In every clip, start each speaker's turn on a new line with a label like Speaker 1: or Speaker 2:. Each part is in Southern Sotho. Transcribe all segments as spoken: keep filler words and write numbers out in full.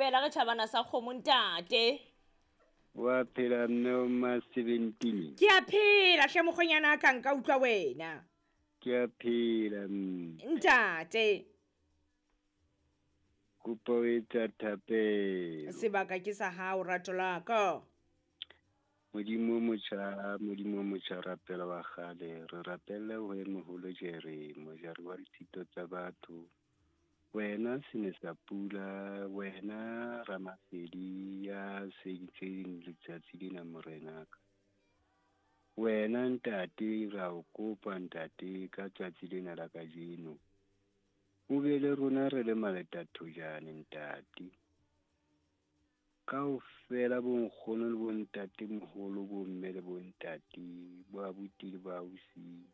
Speaker 1: Kaofela re tjhabana sa kgomo ntate.
Speaker 2: Wa phela mme o ma seventeen.
Speaker 1: Ke a phela hle mokgonyana ka nka utlwa wena.
Speaker 2: Ke a phela mme.
Speaker 1: Ntate.
Speaker 2: Kopa o etsa thapelo.
Speaker 1: Sebaka ke sa hao rato la ka.
Speaker 2: Modimo motjha, Modimo motjha rapela wa kgale, re rapelle ho e moholo Jere, mojari wa ditshito tsa batho. Wena sene sa pula, wena Ramasedi ya seditseng letsatsi lena morena ka. Wena ntate ra o kopa ntate ka tsatsi lena la kajeno. O be le rona re le maletathojane ntate. Kaofela bonkgono le bontate moholo, bomme le bontate, bo abuti le bo ausi.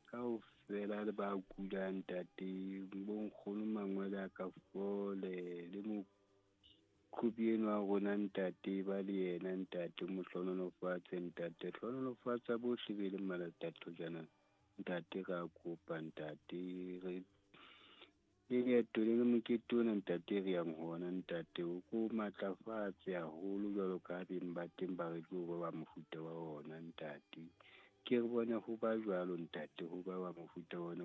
Speaker 2: Kaofela le ba kulang ntate, bonkgono mangwele a ka fole le mokhubi enwa wa rona ntate ba le yena ntate mo hlohonolofatse ntate, hlohonolofatsa bohle be le maletathojana ntate ra kopa ntate re le leeto le le mokete ona ntate re yang ho ona ntate o ko matlafatse haholo jwalo ka beng ba teng ba re tlo ba mofuta wa ona ntate. Ke re bone ho ba jwalo ntate ho ba wa mofuta wa ona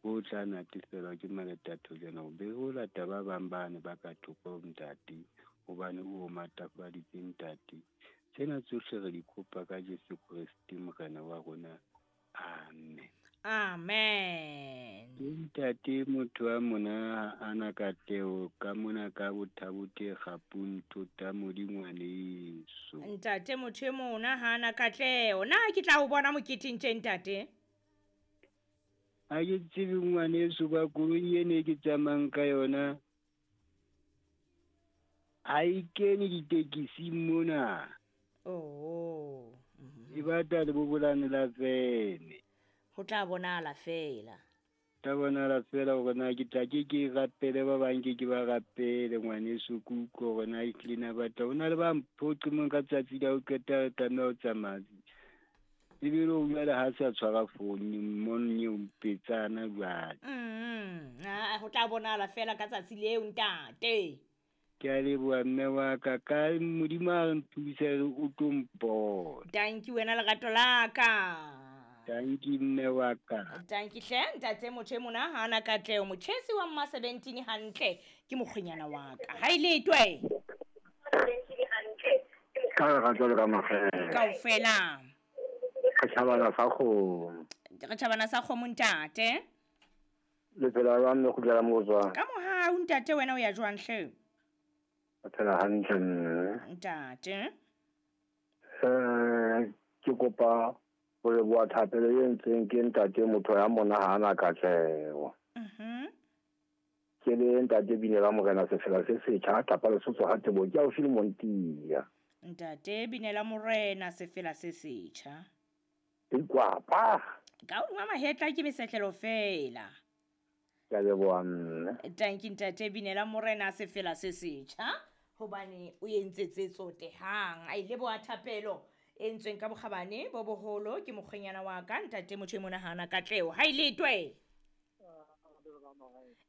Speaker 2: o tla natefelwa ke maletathojana ho be ho lata ba bang bane ba ka thoko ntate hobane o matlafaditse ntate. Tsena tsohle re di kopa ka Jesu Kreste Morena wa rona. Amen.
Speaker 1: Amen.
Speaker 2: Ntate motho wa mona ana katleho ka mona ka bothabote gapunto ta modingwaneso.
Speaker 1: Ntate motho e mona ha ana katleho. Na ke tla o bona moketeng tje ntate?
Speaker 2: Ha ke tsebe ngwaneso ba koloi ene ke tsamayang ka yona. Ha e kene ditekising mona.
Speaker 1: Oh.
Speaker 2: E batla le bobolane la vene.
Speaker 1: Ho tla bonala fela.
Speaker 2: Tla bonala fela hore na ke tla ke ke rapele ba bang ke ke ba rapele ngwaneso ke utlwe hore na ehlile na batla. Ho na le ba mphoqe mong ka tsatsi la ho qeta re tlameha ho tsamaya. Ebile o jwale ha sa tshwara founu monne o mpetsana jwale.
Speaker 1: Mm, ah, ho tla bonala fela ka tsatsi leo ntate.
Speaker 2: Ke a leboha mme wa ka ka Modimo a re nthuse o tlo mpona.
Speaker 1: Thank you wena lerato la ka.
Speaker 2: Thank you mme wa ka.
Speaker 1: Thank you hle ntate motho e mona ha ana katleho motjhesi wa mma seventeen hantle ke mokgwenyana wa ka. Ha ile twe.
Speaker 3: Ka lerato le ka makgethe.
Speaker 1: Kaofela.
Speaker 3: Re tjhabana sa kgomo.
Speaker 1: Re tjhabana sa kgomo ntate.
Speaker 3: Le phela jwang mme kgutlela moo tswang?
Speaker 1: Ka mohau ntate wena o ya jwang hle?
Speaker 3: Re phela hantle mme.
Speaker 1: Ntate.
Speaker 3: Eh ke kopa ho leboha thapelo e entsweng ke ntate motho ya mona ha ana katleho.
Speaker 1: Mhm.
Speaker 3: Ke le ntate Binela Morena sefela se setjha Kapa Lesotho ha Tebo ke haufi le Montia.
Speaker 1: Ntate Binela Morena sefela se setjha.
Speaker 3: Ikwapa.
Speaker 1: Ka o mahetla ke mesetlelo fela.
Speaker 3: Ke a leboha mme.
Speaker 1: Thank you ntate Binela Morena sefela se setjha hobane o entse tse tsotehang. A ile boa thapelo e ntsweng ka bokgabane bo boholo ke mokgwenyana wa ka ntate motho e mona hana katleho. Ha ile twe.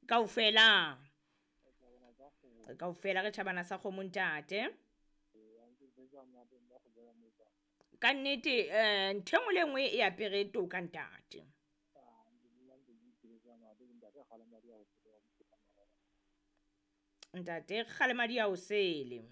Speaker 1: Kaofela. Kaofela re tjhabana sa kgomo ntate. Ka nnete eh ntho e nngwe le nngwe e apere toka ntate. Ntate Kgalemadi a o sele.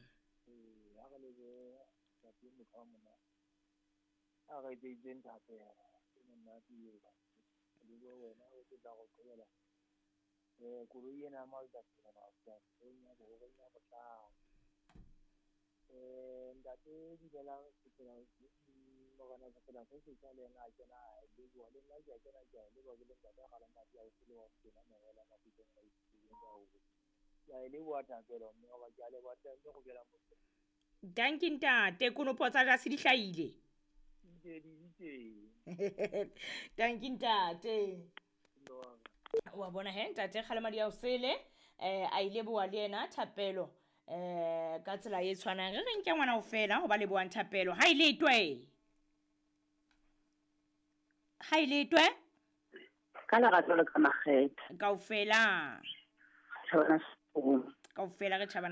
Speaker 1: Dankie ntate konopo tsa jase di hlahile. Dankie ntate. Wa bona he ntate Kgalemadi a o sele eh a ile boa le yena thapelo eh ka tsela e tshwanang re re nke ngwana o fela ho ba le boang thapelo ha ile twe. Ha ile twe
Speaker 4: ka lerato le ka makgethe
Speaker 1: kaofela
Speaker 4: tjhabana
Speaker 1: kaofela re tjhabana.